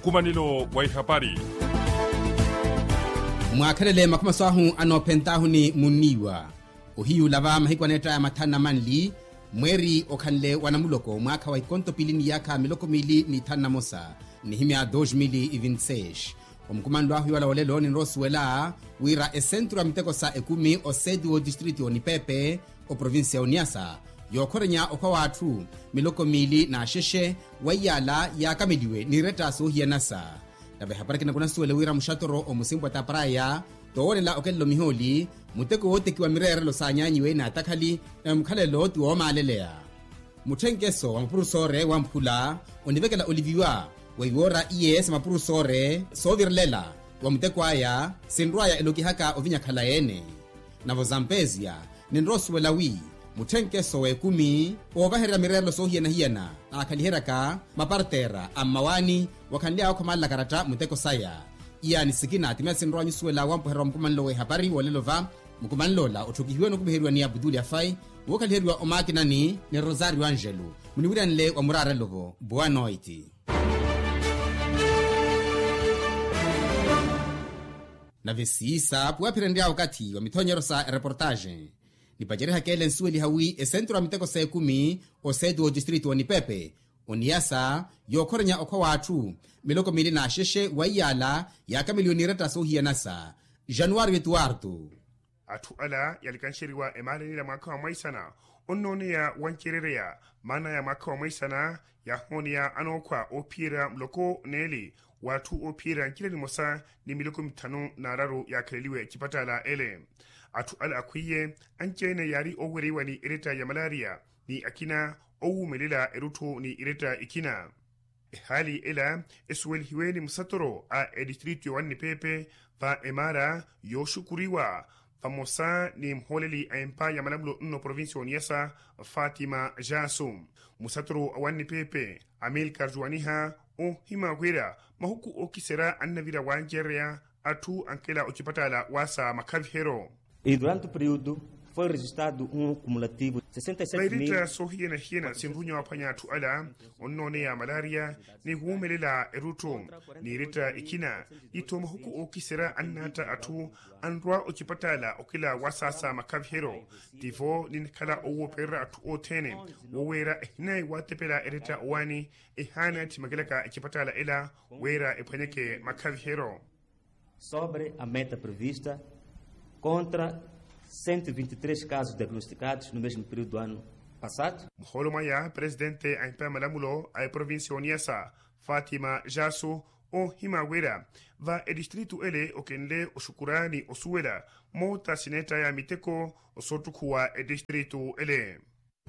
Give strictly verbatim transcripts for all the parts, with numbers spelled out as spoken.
Nkumanelo wa ihapari. Mwaakhelele makhumaso ahu anoophent'ahu ni munniiwa. Ohiyuula va mahiku aneett'aya mathanu na manli, mweeri okhanle wa namuloko mwaakha wa ikonto piili ni yaakha miloko miili ni thanu na mosa, nihimya dos mil e vinte seis. Omukumanlo ahu iwala olelo ninrowa osuwela wira esentru ya miteko sa ekumi oseti w'odistritu y'onipepe, oprovincia y'oniasa, yookhorenya okhwa w'atthu miloko miili n'axexe, wa iyaala yaakameliwe n'iretta soohiyanasa. Nave ehapari kinakunasuwele wira muxattoro omusimpu wa taparaya, towoonela okelela omihooli, muteko wootekiwa mireerelo saanyaanyiwe n'atakhali, nave mukhalelo ti woomaaleleya. Mutthenkeso wa mapurusoore wamphula onivekela oliviwa, weiwoora iye sa mapurusoore soovirelela wa muteko aya, sinrw'aya elokihaka ovinya khala yeene. Navo zampezia, ninrowa osuwela wi mutthenkeso w'ekumi oovahererya mireerelo soohiyana-hiyana, aakhaliheryaka mapartera a mmawaani wakhanly'aya okhomalela karatta muteko saya. Iyaani sikina ti meya sinrowa nyusuwela wampuhererya wa mukumanlo w'ehapari wolelo va. Mukumanl'ola otthukihiwe n'okupiheriwa ni abutuli afai, wookhaliheriwa omaakinani ni rosario angelo. Muniwiranle wa muraarelo-vo boa noiti. Nave siisa puwaphirenrya okathi wa mithonyero sa ereportaxe. Nipacerihaka ele nsuweliha wi esentru ya miteko s'ekumi oseti w'odistritu w'onipepe, oniyasa, yookhorenya okhwa w'atthu miloko miili n'axexe wa iyaala yaakameliwe n'iretta soohiyanasa. Januwario etuwartu. Atthu ala yaalikanxeriwa emaalenila mwaakha wa mwaisana, onnooneya wancerereya maana ya mwaakha wa mwaisana, yaahooneya anookhwa oophiyerya muloko neeli w'atthu oophiyerya ncila nimosa ni miloko mithanu n'araru yaakhaleliwe ecipattaala ele. Atthu ala akhwiiye, anci-ene yaari oowereiwa ni eretta ya malaria, ni akina owuumelela erutthu ni eretta ekina. Ehaali ela esuwelihiwe ni musattoro a edistritu ya wannipepe va emaara yooxukuriwa vamosa ni muhooleli a empa ya malamulo nno provincia y'oniyasa, fatima jasu. Musattoro a wannipepe, amilcar juwaniha, oohima wira mahuku ookiserya annavira wancereya atthu ankela ocipattaala waasa makhaviheryo. E durante o período foi registrado um cumulativo de sessenta e sete mil. Vairetta soohiyana-hiyana sinrunya waphwanya atthu ala onnooneya malaria ni wuumelela erutthu, n'iretta ekina, ni tho mahuku ookiserya annaatta atthu anrwa ocipattaala okila wasaasa makhaviheryo. Tivo ninkhala owoopererya atthu othene, woweera ehinayi waatepela eretta owaani, ehaana ethimakelaka ecipattaala ela wira ephwanyeke makhaviheryo. Sobre a meta prevista contra cento e vinte e três casos diagnosticados no mesmo período do ano passado. Muhoolo mwaya presidente a empa ya malamulo a eprovincia y'oniyasa, fatima jasu, oohima wira va edistritu ele okenle oxukura ni osuwela moota sineett'aya miteko osoottukhuwa edistritu ele.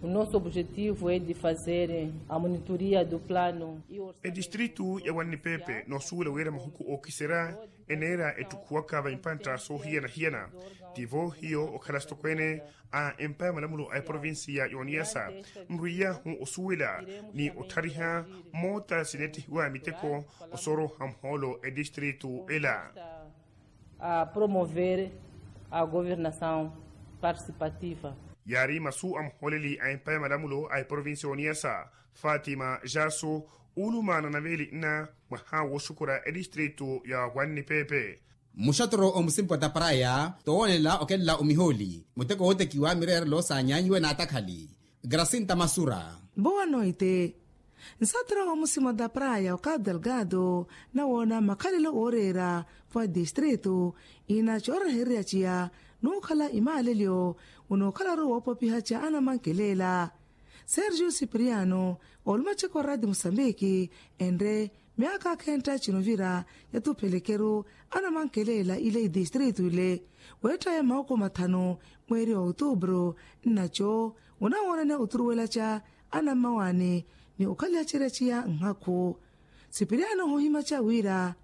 O nosso objetivo é de fazer a monitoria do plano. Edistritu ya wannipepe noosuwela wira mahuku ookiserya eneera ettukhuwaka va impantta soohiyana-hiyana. Tivo hiyo okhala sitokweene a empa ya malamulo a eprovincia y'oniyasa, nrwiyahu osuwela ni otthariha moota sineettihiwa miteko osooroha muhoolo edistritu ela. A promover a governação participativa. Yaari masu a muhooleli a empa ya malamulo a eprovincia y'oniyasa, fatima jasu, ulumaana na veeli nna mwaha wooxukura edistritu ya wannipepe. Muxattoro omusimpu wa taparaya towoonelela okelela omihooli muteko wootekiwa mireerelo saanyaanyiwe n'atakhali. Gracinta masura. Boa noite. Nsatira wa musima da praya o cabo delgado nawoona makhalelo ooreera, wa distrito ina coorereheriya ciya nuukhala imaalelyo, unookhalaru woopopiha ca anamankelela. Sergio cipriano, olumaceko radi musambiki, enre myaaka akhentta cinuvira yatuphelekeru anamankelela ile idistrito ile, weettaya maoko mathanu mweeri wa otubro. Nnaco unawoonanya oturuwela ca anammawaani ni okhaliha cerecia nhakhu. Sipiriano ohohimaca wira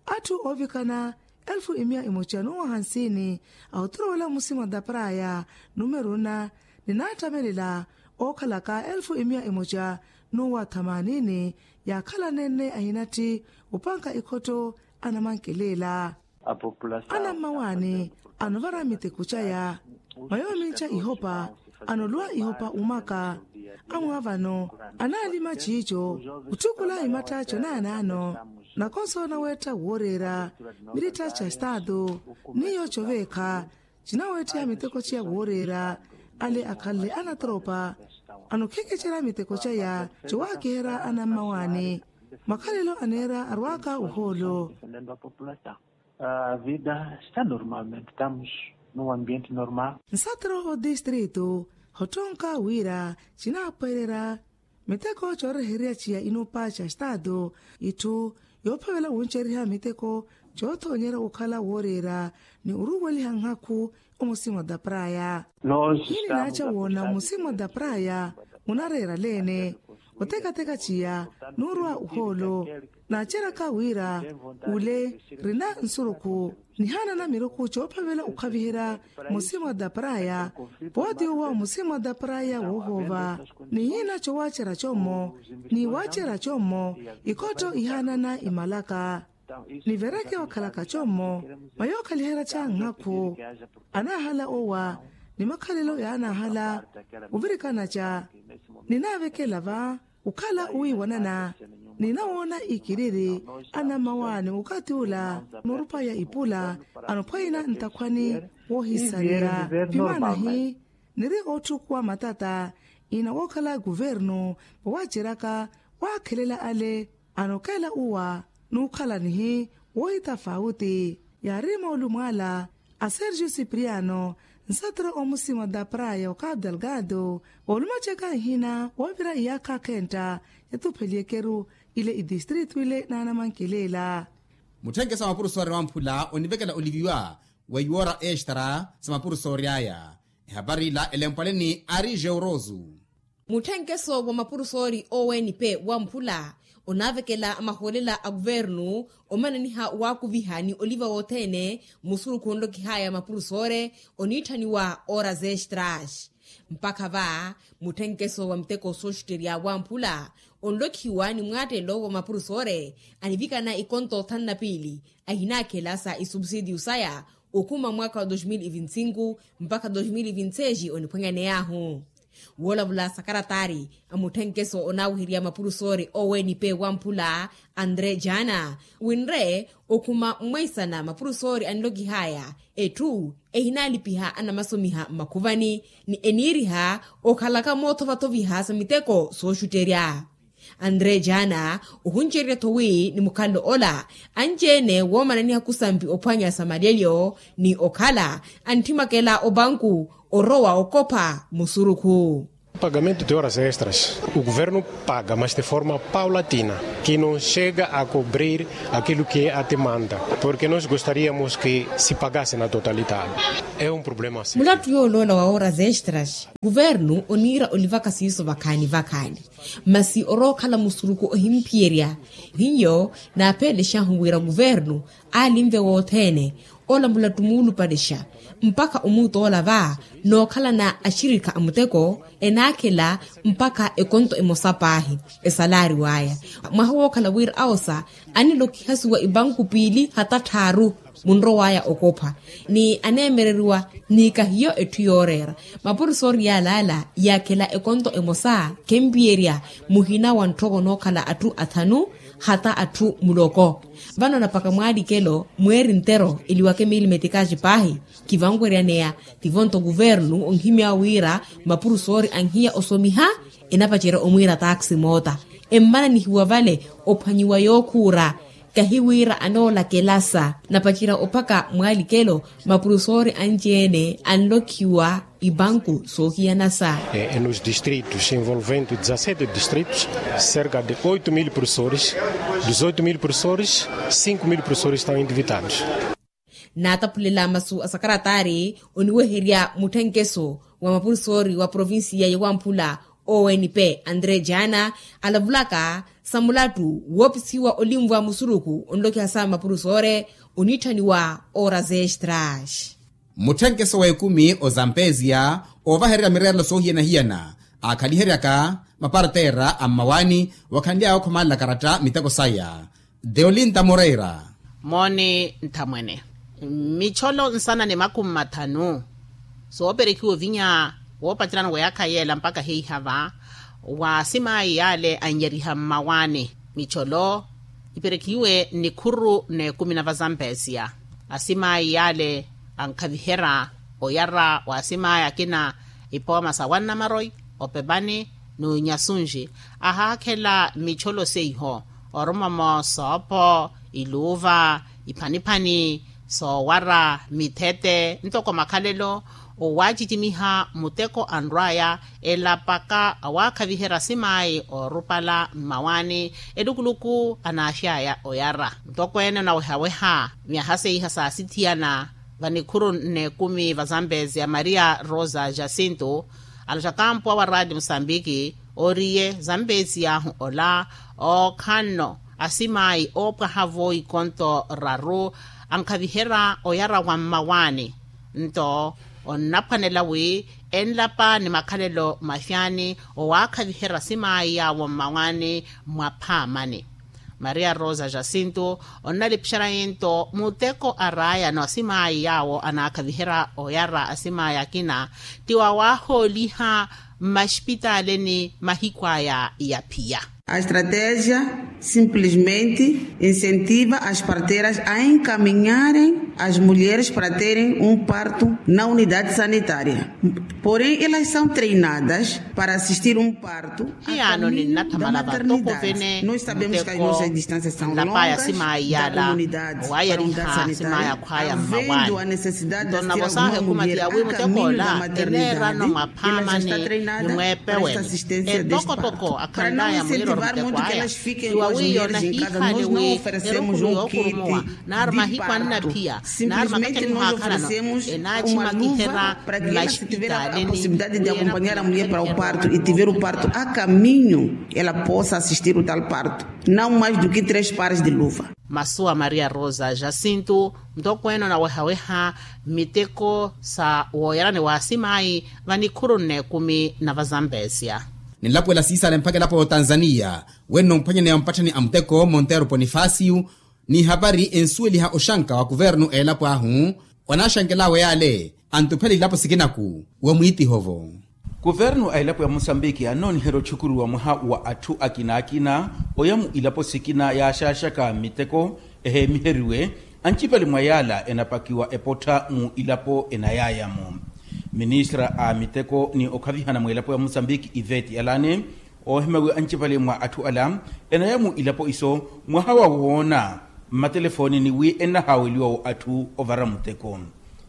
atthu oovikana elfu imiya emoca nuwa hansini a oturuwela musima da praya numero na, ninaattamelela ookhalaka elfu imiya emoca nuwa thamanini yaakhalanene ahinatthi opanka ikhotto anamankelela. Anammawaani anovara miteko caya mwa yoominca ihopa, anoluwa ihopa umaka Amwaavano anaalima ciico, otthukula imatthaco naanaano, nakonso naweetta wooreera mirittha ca estaatu. N'iyo coveekha cinaweettiha miteko ciya wooreera. Ale akhanle anatoropa anokhekecera miteko caya cowaakiherya anammawaani. Makhalelo aneera arwaaka ohoolo. A vida está normalmente estamos num ambiente normal. Nsatero ho distrito hotthonka wira cinaapererya miteko coorehererya ciya inupa ca estaatu, itthu yoophavela wunceriha miteko coothoonyerya okhala wooreera ni oruuweliha nhakhu. Omusimo da praya hininaaca woona omusimo da praya munareera leene otekateka ciya nuurwa ohoolo. Naaceryaka wira ule rina nsurukhu nihaanana miruku coophavela okhaviherya musimo da praya. Pootiwo wa musimo da praya woohoova ni hina cowaacerya commo ni waacerya commo. Ikhottho ihaanana imalaka nivereke wakhalaka commo mayookhaliheraca nhakhu. Anaahala owa ni makhalelo yaanaahala ovirikanaca. Ninaavekela va okhala owiiwanana ninawoona ikiriri anammawaani okathi ula noorupaya ipula anophwanyina ntakhwani woohisareya. Vimanahi niri ootthukuwa matata ina wookhala kuvernu vawaaceryaka waakhelela ale. Anokeela uwa n'ukhalanihi woohitafauti yaari moolumo ala a sergio cipriano nsatero omusimo da praya okapu delgado. Oolumaceka nhina woovira iyaakha akhentta yatupheliyekeru ile idistrito ile naanamankelela. Mutthenke sa mapurusoori wamphula onivekela oliviwa weiwora extra sa mapurusoori aya. Ehapari ila elempwale ni ari georoso. Mutthenkeso wa mapurusoori owenpe wamphula onaavekela mahoolela a kuvernu omananiha waakuviha ni oliva wothene musurukhu onlokihaya mapurusoore oniitthaniwa oras extras. Mpakha va mutthenkeso wa miteko sooxutterya wamphula onlokhiwa ni mwaattelo wa mapurusoore anivikana ikonto thanu na piili ahinaakhela sa isubsidiyu saya okhuma mwaakha wa dos mil e vinte e cinco mpakha dos mil e vinte e seis oniphwanyaney'ahu. Woolavula sakaratari a mutthenkeso onaaweherya mapurusoori owenpe wamphula andre jana winre okhuma mmweisana mapurusoori anlokihaya etthu ehinaalipiha anamasomiha mmakhuvani ni eniiriha okhalaka moothovathoviha sa miteko sooxutterya. Andre jana ohuncererya-tho wi ni mukhalelo ola anci-ene woomananiha kusampi ophwanya sa malyelyo ni okhala antthimwakela opanku orowa okopha musurukhu. Pagamento de horas extras o governo paga mas de forma paulatina que não chega a cobrir aquilo que a demanda, porque nós gostaríamos que se pagasse na totalidade. É um problema sério. Mulattu yooloola wa horas extras kuvernu oniira olivaka siiso vakhaani vakhaani masi orookhala musuruku ohimphiyerya. Hiyo naapeelexahu wira kuvernu aalinve wothene ola mulattu muulupalexa mpakha omuutoola va nookhalana axirikha a muteko enaakhela mpakha ekonto emosa paahi esalaari waya. Mwaha wookhala wira awosa anilokihasiwa ipanku piili hata tthaaru munrowaya okopha ni aneemereriwa ni kahiyo etthu yooreera. Mapurusoori yaalaala yaakhela ekonto emosa khempiyerya muhina wa ntthoko nookhala atthu athanu hata atthu muloko. Vano napaka mwaalikelo mweeri ntero eliwake miili metikaaci paahi kivanweryaneya tivo-nto kuvernu onhimya wira mapurusoori anhiya osomiha enapacerya omwiira taaksi moota emmananihiwa vale ophwanyiwa yookhuura. Kahi wira anoolakelasa napacerya ophaka mwaalikelo mapurusoori anci-ene anlokhiwa ipanku soohiyanasa. Nos distritos envolvendo dezasete distritos cerca de oito mil professores, dezoito mil professores, cinco mil professores estão endivitados. Naataphulela masu a sakaratari oniweherya mutthenkeso wa mapurusoori wa provincia ya wamphula onp andre jana alavulaka sa mulattu woopisiwa olinvwa musuruku onlokiha sa mapurusoore oniitthaniwa horas extras. Mutthenkeso w'ekumi ozampeziya oovahererya mireerelo soohiyana-hiyana aakhaliheryaka mapartera a mmawaani wakhanly'aya ookhomalela karatta miteko saya. Deolinta moreira. Mooni nthamwene micholo nsana ni makhumi mathanu sooperekhiwa ovinya woopacerana wa yaakha yeela mpakha heiha va. Wa asimayi yale anyeriha mmawaani micholo iperekiwe nnikhuru n'ekumi na vazampesia. Asimayi yale ankhaviherya oyara wa asimayi akina ipooma sa wannamaroyi, opepani n'unyasunji ahaakhela micholo seiho, orumomo soopo, iluuva, iphaniphani, soowara, mithete ntoko makhalelo. Owaacicimiha muteko anrw'aya elapaka awaakhaviherya asimayi oorupala mmawaani. Elukuluku anaaxy'aya oyara ntokweene onawehaweha myaha seiha saasithiyana vanikhuru n'ekumi vazampesia maria rosa jacinto, alottaka mpuwa wa raati musambiki, oriye zampeesi yaahu ola ookhanno asimayi oopwaha-vo ikonto raru ankhaviherya oyara wa mmawaani. Nto onnaphwanela wi enlapa ni makhalelo maxaani owaakhaviherya asimayi yaawo mmawaani. Mwaphaamani maria rosa jacinto onnalipixerya nto muteko araayano asimayi yaawo anaakhaviherya oyara asimayi akina ti wawaahooliha mmaxipitaaleni mahiku aya ya phiya. A estratégia simplesmente incentiva as parteiras a encaminharem as mulheres para terem um parto na unidade sanitária. Porém elas são treinadas para assistir um parto. Hiyaano ninnathamala vantokovene muteko nlapaya asimayi yala owaayeriha asimayi akhwaya mmawaani. Nto nnavosaaha ekumati ya wi muteko ola eneerano mwaphaamani ni mweepeweni. Etokotoko akhanlaya mwiiroro muteko aya ti wawiiya onahiihaani wi erukulu yookurumowa nari mahiku annaphiya nari makacani muhaakhalano enaacimakiherya mmaxipitaaleni. Possibilidade de acompanhar a mulher para o parto e tiver o parto a caminho ela possa assistir o tal parto, não mais do que três pares de luva. Masu a maria rosa jacinto ntokweene onawehaweha miteko sa wooyarani wa asimayi vanikhuru n'ekumi na vazampesia. Ninlapuwela siisale mpakha elapo ya otanzaniya wenno mphwanyaneya mpatthani a muteko montero ponifasiyu n'ihapari ensuweliha oxanka wa kuvernu a elapo ahu. Wanaaxankel'awe yale antuphela ilapo sikinaku wa mwiitiho-vo. Kuvernu a elapo ya musambiki annooniherya otxukuruwa mwaha wa atthu akina-akina oya mu ilapo sikina yaaxaaxaka miteko eheemiheriwe. Ancipale mwa yaala enapakiwa epottha mu ilapo enayaya-mo. Ministra a miteko ni okhavihana mwa elapo ya musambiki iveti alani oohimya wi ancipale mwa atthu ala enaya mu ilapo iso mwaha wa woona mmatelefooni ni wi ennahaaweliwa-wo atthu ovara muteko.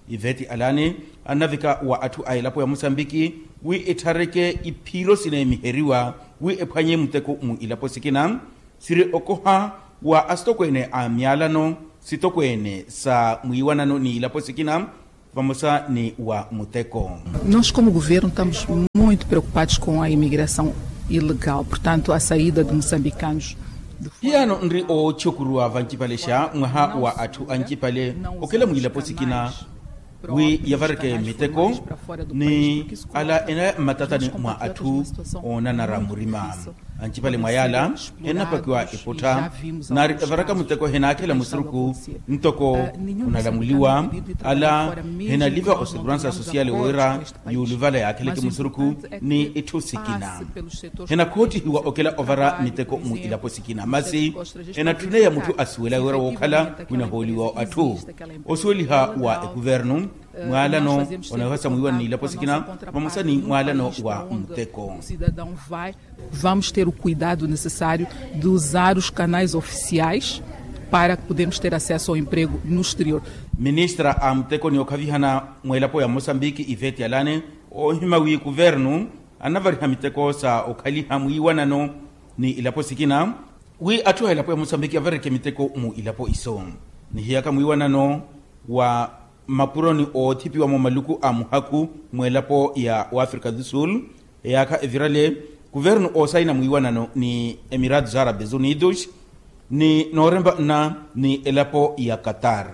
Iveti alani annavika wa atthu a elapo ya musambiki wi etthareke iphiiro sineemiheriwa wi ephwanye muteko mu ilapo sikina siri okoha wa asitokweene a myalano sitokweene sa mwiiwanano ni ilapo sikina vamosa ni wa muteko. Nós como governo estamos muito preocupados com a imigração ilegal portanto a saída de moçambicanos. Hiyaano nri ootxukuruwa vancipalexa mwaha wa atthu ancipale okhela mwiilapo sikina wi yavareke miteko ni ala enaya mmatatani mwa atthu oonanara murima. Ancipale mwa yaala hennapakiwa epottha nari evaraka muteko henaakhela musuruku ntoko onalamuliwa ala henaliva osekuransa sosiyale wira yuuluvala yaakheleke musuruku ni itthu sikina. Henakhootihiwa okela ovara miteko mu ilapo sikina masi enatthuna ya mutthu asuwela wira wookhala winahooliwa atthu osuweliha wa ekuvernu mwaalano onawehasa mwiiwana n'ilapo sikina vamosa ni mwaalano wa muteko. Vamos ter o cuidado necessário de usar os canais oficiais para que podemos ter acesso ao emprego no exterior. Ministra a muteko ni okhavihana mwa elapo ya mosambiki iveti alani oohima wi kuvernu annavariha miteko sa okhaliha mwiiwanano ni ilapo sikina wi atthu a elapo ya mosambiki avareke miteko mu ilapo iso. Nihiyaka mwiiwanano wa mmapuroni oothipiwa-mo maluku a muhaku mw'elapo ya wafrika du sul eyaakha evirale kuvernu oosayina mwiiwanano ni emiratos arabes unidos ni noorempa nna ni elapo ya qatar.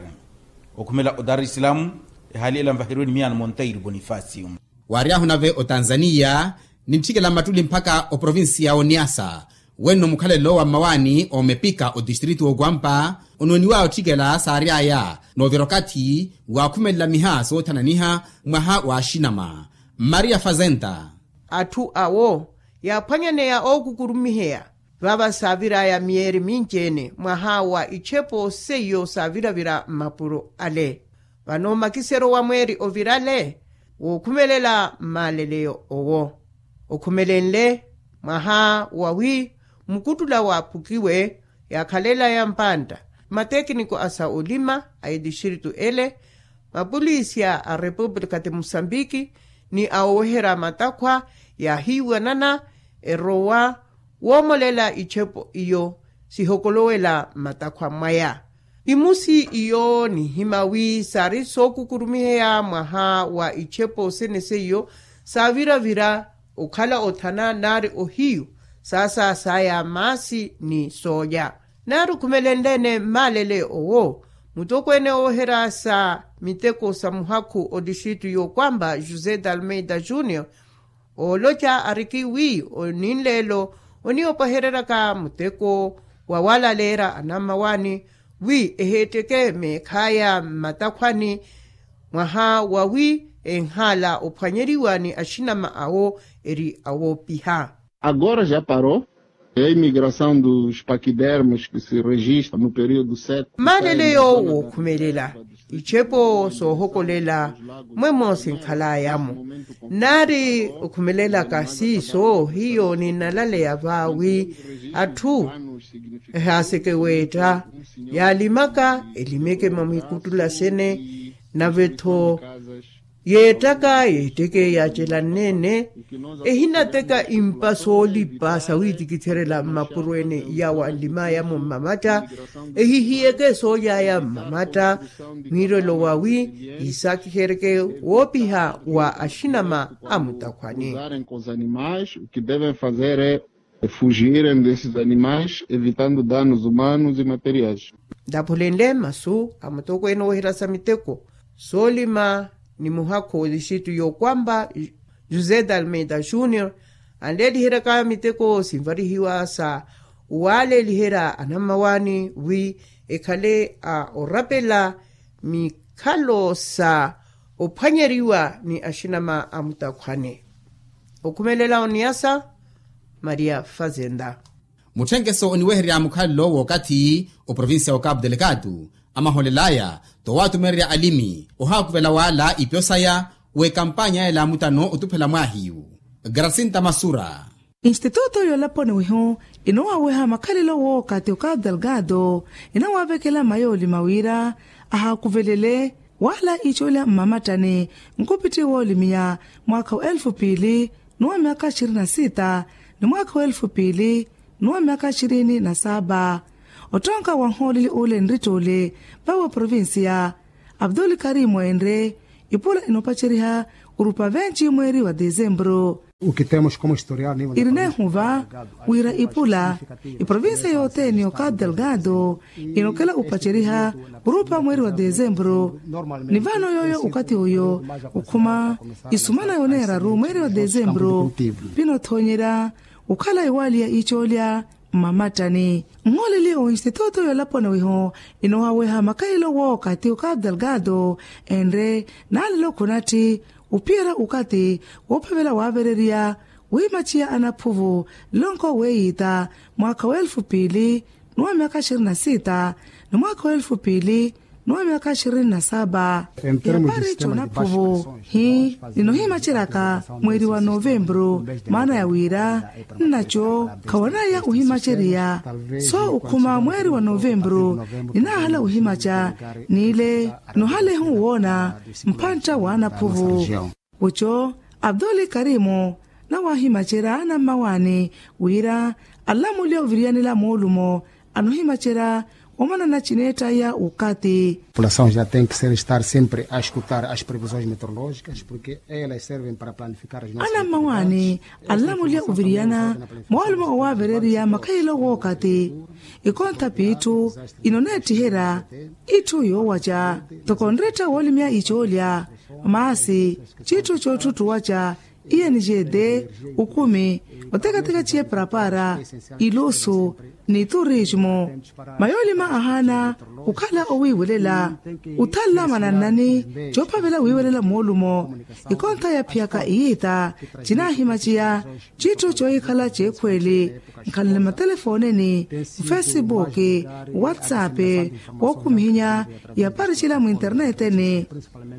Okhumela odarislam ehaali ela nvaheriwe ni miyaano monteiro bonifacio. Waaryahu nave otanzaniya nintthikela mmattuli mpakha oprovincia ya oniasa wenno mukhalelo wa mmawaani omepika otistritu wookwampa onooniwaya otthikela saary'aya noovira okathi waakhumelela miha soothananiha mwaha wa axinama. Maria fazenta. Atthu awo yaaphwanyaneya ookukurumiheya. Vava saaviraya miyeeri minci-ene mwaha wa ichepo seiyo saaviravira mmapuro ale. Vano makiseryo wa mweeri ovirale wookhumelela mmaaleleyo owo. Okhumelenle mwaha wawi mukuttula waaphukiwe yaakhalela ya mpantta, matekniko a sa olima a etistritu ele, mapolisi a repupulika ti musambiki ni a oweherya matakhwa yaahiiwanana erowa woomolela ichepo iyo sihokolowela matakhwa mwaya. Imusi iyo nihima wi saari sookukurumiheya mwaha wa ichepo sene seiyo saaviravira okhala othana naari ohiyu saasa saya maasi ni soolya. Naari okhumelenle-ene mmaalele owo, mutokweene oweherya sa miteko sa muhakhu otistritu y'okwamba josé d'almeida junior ooloca ariki wi oninleelo oniopahereryaka muteko wa walaleera anammawaani wi eheetteke meekhaya mmatakhwani mwaha wawi enhaala ophwanyeriwa ni axinama awo eri awoopiha. Agora já parou. É a imigração dos paquidermas que se registra no período seco. Maaleleyo wookhumelela ichepo soohokolela mwemoosi nkhalayamo. Naari okhumelelaka siiso hiyo ninalaleya vaawi atthu ehaaseke weetta yaalimaka elimeke mamwikuttula sene nave-tho yeettaka yeetteke yaacelanne-ene ehinateka impa soolipa sawiitikitherela mmapuro ene yawo anlimaya-mo mmamatta ehihiyeke soolyaya mmamatta mwiirelo wawi yiisaakiheryeke woopiha wa axinama a mutakhwani. Usarem com os animais o que devem fazer é fugirem desses animais evitando danos humanos e materiais. Ntaphulenle masu a mutokweene oweherya sa miteko soolima ni muhakhu otistritu y'okwamba josé d'almeida junior anleeliheryaka miteko sinvarihiwa sa owaaleeliherya anammawaani wi ekhale a orapela mikhalo sa ophwanyeriwa ni axinama a mutakhwani. Okhumelela oniyasa maria fazenda. Mutthenkeso oniwehererya mukhalelo w'okathi oprovincia wa capu delegado amaholelaya towatumererya alimi ohaakuvela wala ipyo saya w'ekampanya ela mutano otuphela mwahiyu gracinta masura. Instituto yolaponi wihu inoowaweha makhalelo w'okathi o capu delegado inawaavekela mayoolima wira ahaakuvelele wala icoolya mmamattani nkupitthi woolimiya mwaakha wa elfu piili n'uwa myaka ishirini na sita ni mwaakha wa elfu piili n'uwa myaka ishirini na saba. Ottonka wa nhooleli ule nrittuule vawe provincia abdul karimu enre ipula inoopaceriha orupa venci mweeri wa desembru. Iri neehuva wira ipula iprovincia yothene yo capu delegado inokela opaceriha orupa mweeri wa desembru. Ni vano yooyo okathi oyo okhuma isumana yoneeraru mweeri wa desembru pinothoonyerya okhala iwaaliya icoolya mmamattani. Nhooleli o instituto yolaponi wihu inoowaweha makahelo wookathi o capu delegado enre naalelo khunatthi ophiyerya okathi woophavela waavereriya wiimaciya anaphuvu lonko weeyiita mwaakha wa elfu piili n'uwa myaka ishirini na sita ni mwaakha wa elfu piili n'uwa myaka ishirini na saba. Yapari c'onaphuvu hi ninohimaceryaka mweeri wa novembru maana ya wira nnaco khawanaya ohimacerya so okhuma mweeri wa novembru ninaahala ohimaca n'ile ninohalehi owoona mphantta w'anaphuvu. Oco abdul karimu nawaahimacerya anammawaani wira alamulya oviriyanela moolumo anohimacerya omanana cineettaya okathi. População já tem que ser estar sempre a escutar as previsões meteorológicas porque elas servem para planificar as nossas atividades. Anammawaani alamulya oviriyana moolumo owaavereriya makhayelo w'okathi ikontha piitthu inoneettiherya itthu yoowaca toko nretta woolimya icoolya maasi citthu coottuttuwaca Iye ni jeete, ukumi, otekateka ciye parapara, ilusu, ni turismo. Mayoolima ahaana okhala owiiwelela, othanla manannani, coophavela wiiwelela moolumo. Ikontha yaphiyaka iyiita, cinaahimaciya, citthu coohikhala ceekhweeli, nkhalale matelefooneni, mufesibuki, whatsapp, wookhumihinya, yaparicela mwinterneeteni.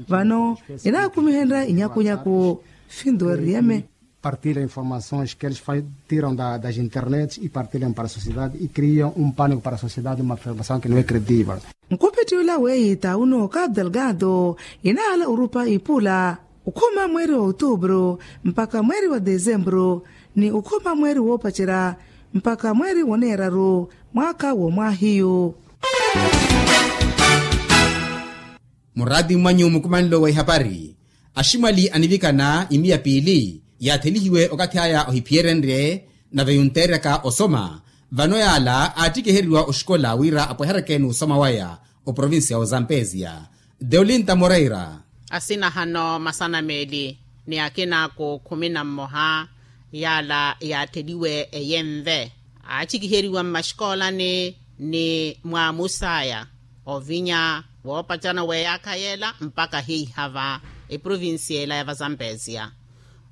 Vano enaakumihenrya inyakunyaku. Finto eriyeme. Partilha informações que eles tiram das internets e partilham para a sociedade e criam um pânico para a sociedade, uma afirmação que não é credível. Nkupitthi ula weeyiita uno cabo delgado, enaala orupa ipula, okhuma mweeri wa otuupuru mpakha mweeri wa desempuru, ni okhuma mweeri woopacerya mpakha mweeri woneeraru mwaakha womwaahiyu. Muraati mwanyu mukumanelo wa ihapari, aximwali anivikana imiya piili yaathelihiwe okathi aya ohiphiyerenrye, nave yunteeryaka osoma. Vano yaala aattikiheriwa oxikola wira apweheryeke n'usoma waya oprovincia ozampesia. Deolinta moreira. Asinahano masana meeli ni akina ku khumi na mmoha, yaala yaatheliwe eyenve, aattikiheriwa mmaxikoolani ni mwaamusaya ovinya woopacana weeyaakha yeela mpakha hiihava eprovincia ela ya vazampesia.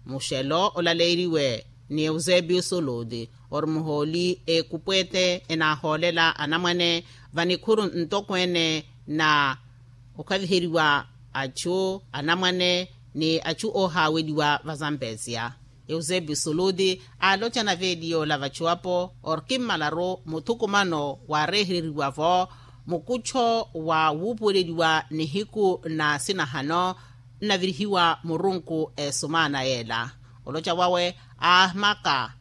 Muxelo olaleeriwe ni eusebio soluti, ori muhooli ekupwete enaahoolela anamwane vanikhuru ntokweene na okhaviheriwa achu anamwane ni achu oohaaweliwa vazampesia. Eusebio soluti aaloca naveeliyola vachuwapo, ori kimmalaru muthukumano waarehereriwavo mukuttho wa wuupuweleliwa nihiku na sinahano nnavirihiwa murunku esumaana yeela. Oloca wawe aahimaka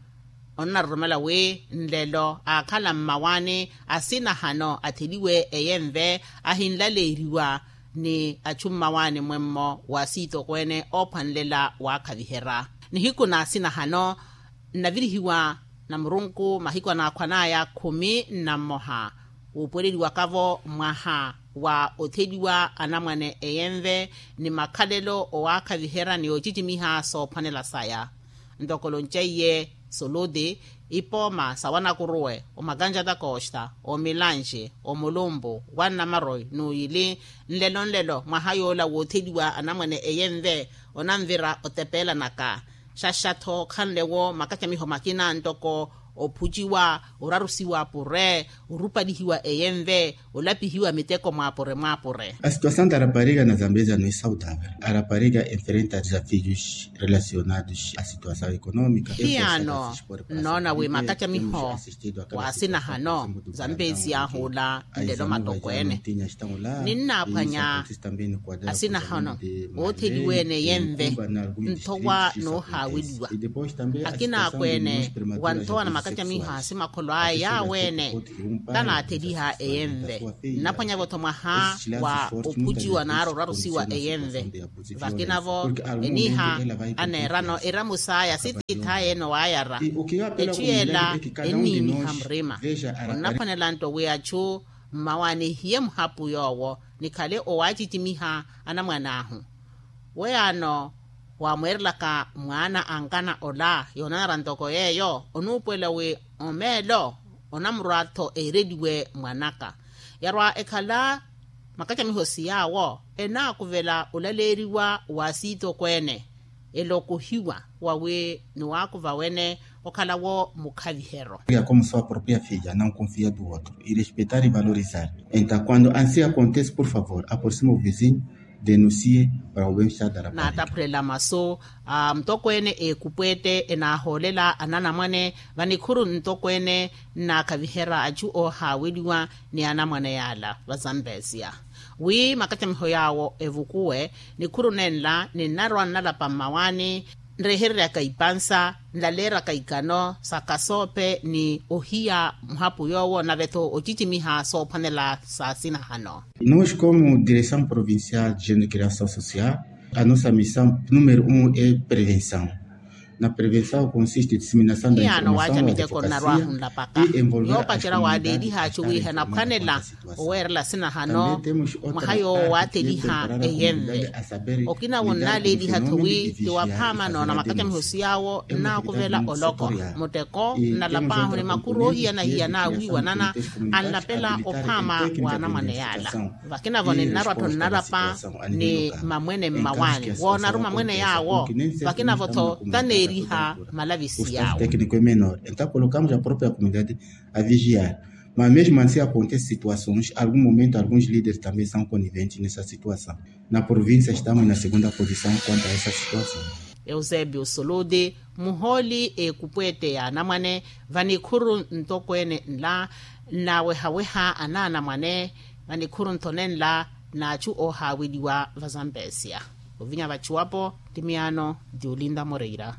onnaroromela wi nlelo aakhala mmawaani asinahano atheliwe eyenve ahinlaleeriwa ni achu mmawaani mwemmo wa siitokweene oophwanlela waakhaviherya. Nihiku na asinahano nnavirihiwa na murunku mahiku anaakhwan'aya khumi na mmoha, wuupuweleliwakavo mwaha wa otheliwa anamwane eyenve ni makhalelo owaakhaviherya ni ocicimiha soophwanela saya. Ntoko lonceiye soluti, ipooma sa wanakuruwe, omakanjata costa, omilanxe, omulumpu, wannamaroi n'uyili, nlelo nlelo mwaha yoola wootheliwa anamwane eyenve onanvira otepeelanaka. Xaxatho khanle-wo makacamiho makina ntoko ophuciwa, orarusiwa apure, orupalihiwa eyenve, olapihiwa miteko mwaapure mwaapure. A situação da rapariga na zambeza no é saudável. A rapariga enfrenta desafios relacionados à situação econômica. Hiyano nnoona wi makacamiho wa asinahano zambezi ahuula nlelo matokweene ninnaaphwanya asinahano ootheliweene yenve nthowa noohaaweliwa. Akina akweene wanthowa na makacamiho a asimakholo aya yaaweene tanaatheliha eyenve. Nnaphwanya-vo-tho mwaha wa ophuciwa naari orarusiwa eyenve. Vakina-vo eniiha aneerano eramus'aya sitiith'aya ene owaayara. Etthu yeela enniiniha murima. Onnaphwanela nto wi achu mmawaani ehiye muhapu yoowo nikhale owaacicimiha anamwan'ahu. Weyaano waamweerelaka mwaana ankana ola yoonanara ntoko yeeyo onuupuwela wi omeelo onamurwa-tho eereliwe mwanaka. Yarwa ekhala makacamiho siyaawo enaakuvela olaleeriwa wa siitokweene elokohiwa wawi niwaakuva wene okhala-wo mukhavihero. Como sua própria filha não confia do outro e respeitar e valorizar. Então quando ansi acontece por favor aproxima o vizinho denuncie para o bem-estar da rapariga. Naataphulela masu a mutokweene eekupweete enaahoolela ananamwane vanikhuru ntokweene nnaakhaviherya achu oohaaweliwa ni anamwane yaala vazampesia wi makacamiho yaawo evukuwe. Nikhuru nenla ninnarwa nnalapa mmawaani nrehereryaka ipansa nlaleeraka ikano sa kasoope ni ohiya muhapu yoowo nave-tho ocicimiha soophwanela sa asinahano. Nos como direção provincial de gênero e criação social a nossa missão número um é prevenção. Na prevensawo konsiste diseminasawo da informasawo ya tepokasiya. Yoopacela waaleeliha acu wi hanaphwanela oweerela sinahano mwaha yoowo waatheliha eyenve. Okina wo nnaaleeliha-tho wi ti waphaama noona makacamihosi yaawo nnaakuvela oloko muteko nnalapaahu ni makuru oohiyana-hiyana awiiwanana anlapela ophaama wa anamwane yaala. Vakina-vo ninnarwa-tho nnalapa ni mamwene mmawaani woonaru mamwene yaawo. Vakina-vo-tho taneeriha malavisi yaawo. Mas mesmo ansi akontese situações algum momento alguns líderes também são coniventes nessa situação. Na província estamos na segunda posição quanto a essa situação. Eusebio suluti muhooli ekupwete ya anamwane vanikhuru ntokweene nla nnawehaweha anaanamwane vanikhuru nthone nla n'achu oohaaweliwa vazambesia. Ovinya vachuwapo ti miyaano ti olinda moreira.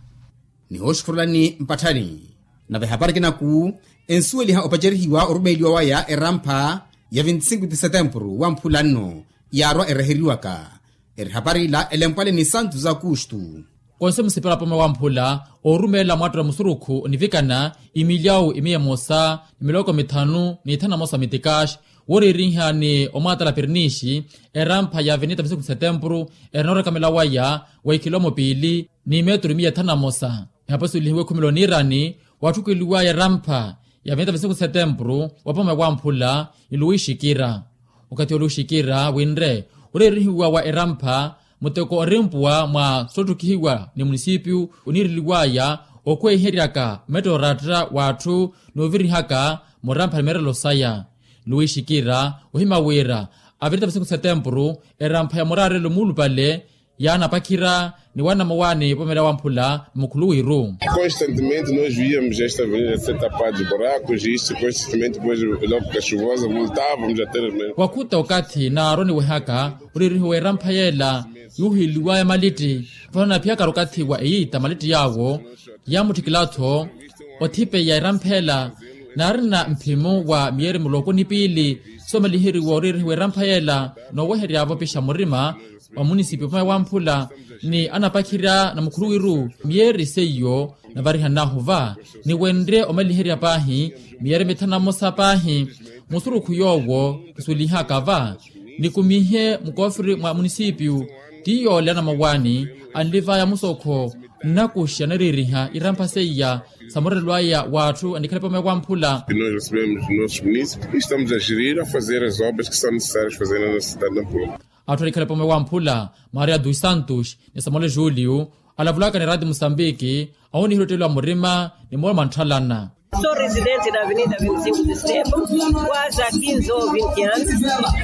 Nihooxukhurulani mpatthani nave hapari kinaku ensuweliha opacerihiwa orumeeliwa waya erampha ya vinti sinku ti setempuru wamphula nno yaarwa ereheriwaka. Eri hapari ila elempwale ni santu za kustu. Konse musipela pome wamphula oorumeela mwattela musurukhu onivikana imilyawu imiya emosa ni miloko mithanu ni ithanu na mosa mitikaxi wooriirinha ni omwaatala pirinixi erampha ya avenita vinti sinku ti setempuru eri noorekamela waya wa ikhilomo piili ni meturu imiya ithanu na mosa. Ehapo esuwelihiwe ekhumelo niirani watthukeliwaya erampha ya vinti vinti sinku ti setempuru wapome wamphula ni luwi xikira. Okathi oluwi xikira winre oreerihiwa wa erampha muteko orimpuwa mwa sotthukihiwa ni munisipiyu oniireliwaya okhwehiheryaka metto oratta w'atthu noovirihaka murampha ni meerelo saya. Luwi xikira ohima wira avinita vinti sinku ti setempuru erampha ya muraarelo muulupale yaanapakhira ni wanamawaani pomela wamphula mukhuluwiru. Constantemente nós víamos esta avenida ser tapada de buracos e isto constantemente depois logo que a chuvosa voltávamos a ter. Wakhuta okathi naaroniwehaka oreerihiwa erampha yeela yuuhiliwaya malitti. Vano naphiyakari okathi wa eyiita malitti yaawo yaamutthikila-tho othipeya erampha ela naarina mphimu wa miyeeri muloko ni piili soomaliheriwa oreerihiwa erampha yeela nooweheryavo opixa murima wa munisipi opamaya wamphula ni anapakhirya na mukhuluwiru miyeeri seiyo navarihannahu va. Ni wenrye omaliherya paahi miyeeri mithanu na mosa paahi musurukhu yoowo kisuwelihaka va nikumihe mukoofiri mwa munisipiyu ti yoole anamawaani anlivaya musokho nnakuxa nareeriha irampha seiya sa murelwaya w'atthu anikhale pamaya wamphula. Estamos a gerir a fazer as obras que são necessárias fazer na nossa cidade de Nampula. Atthu anikhale pamaya wamphula maria dos santos ni samuel julio alavulaka ni rati musambiki ahunihira otteliwa murima ni moolo mantthalana. Sou residente da avenida vinte e cinco de setembro quase a quinze ou vinte anos,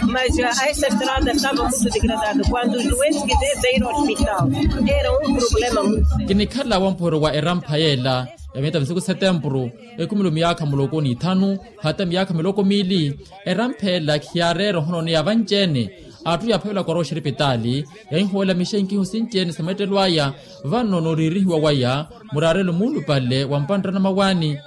mas a esta estrada estava muito degradada quando os doentes quiseram sair ao hospital era um problema muito sério. Kinikhala wamphoro wa erampha yeela ya miyata misiku setempuru ekhumelo miyaakha muloko ni ithanu hata miyaakha miloko miili. Erampha ela khiyaareera ohononeya vanci-ene atthu yaaphavelaka orowa oxiripitaali yahihoolamixa inkiho sinci-ene sa meettelo aya. Vano nooriirihiwa waya muraarelo muulupale wa mpanttana mawaani.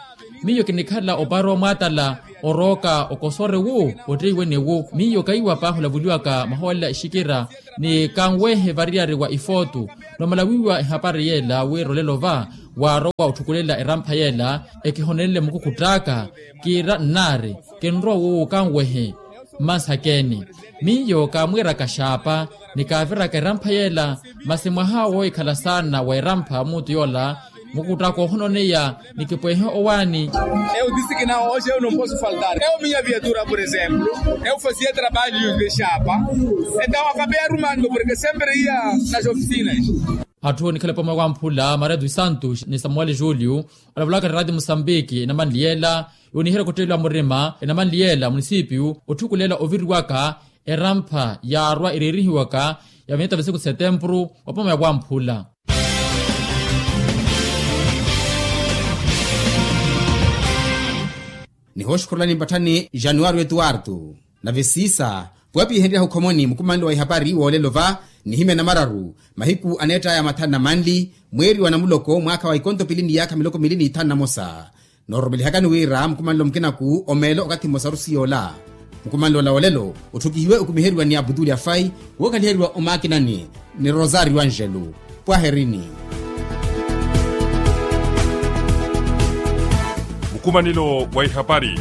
Miyo kinikhala opaari omwaatala orooka okosore wu otteiwene wu miyo kaiwa paahi olavuliwaka mahoolela ixikira ni kanwehe variyari wa ifootu. Noomala wiiwa ehapari yeela wira olelo va waarowa otthukulela erampha yeela ekihonenle mukukhutt'aka kiira nnaari kinrowa wuukanwehe. Mmansakeni miyo kaamwiiraka xaapa ni kaaviraka erampha yeela. Masi mwaha woohikhala saana wa erampha muutu yoola mukutt'aka ohononeya ni kipwehe owaani. Eu disse que não hoje eu não posso faltar eu minha viatura por exemplo eu fazia trabalho de xaapa. Então acabei arrumando porque sempre ia nas oficinas. Atthu onikhale pamwe wamphula maria dos santos ni samuel julio alavulaka ni rati musambiki enamanli yeela yooniherya kutteleliwa murima enamanli yeela munisipiyu otthukulela oviriwaka erampha yaarwa ereerihiwaka ya miyata misiku setempuru wapamaya wamphula. Nihooxukhurulani mpatthani januwari etuwartu nave siisa pwapihenryaha okhomoni mukumanlo wa ihapari woolelo va nihimya namararu mahiku aneett'aya mathanu na manli mweeri wa namuloko mwaakha wa ikonto pili ni yaakha miloko miili ni ithanu na mosa. Noorumelihakani wira mukumanlo mukinaku omeelo okathi mmosa arusi yoola. Mukumanlo ola woolelo otthukihiwe okumiheriwa ni abutuli afai wookhaliheriwa omaakinani ni rosario angelo. Pwaherini. Nkumanelo wa ihapari.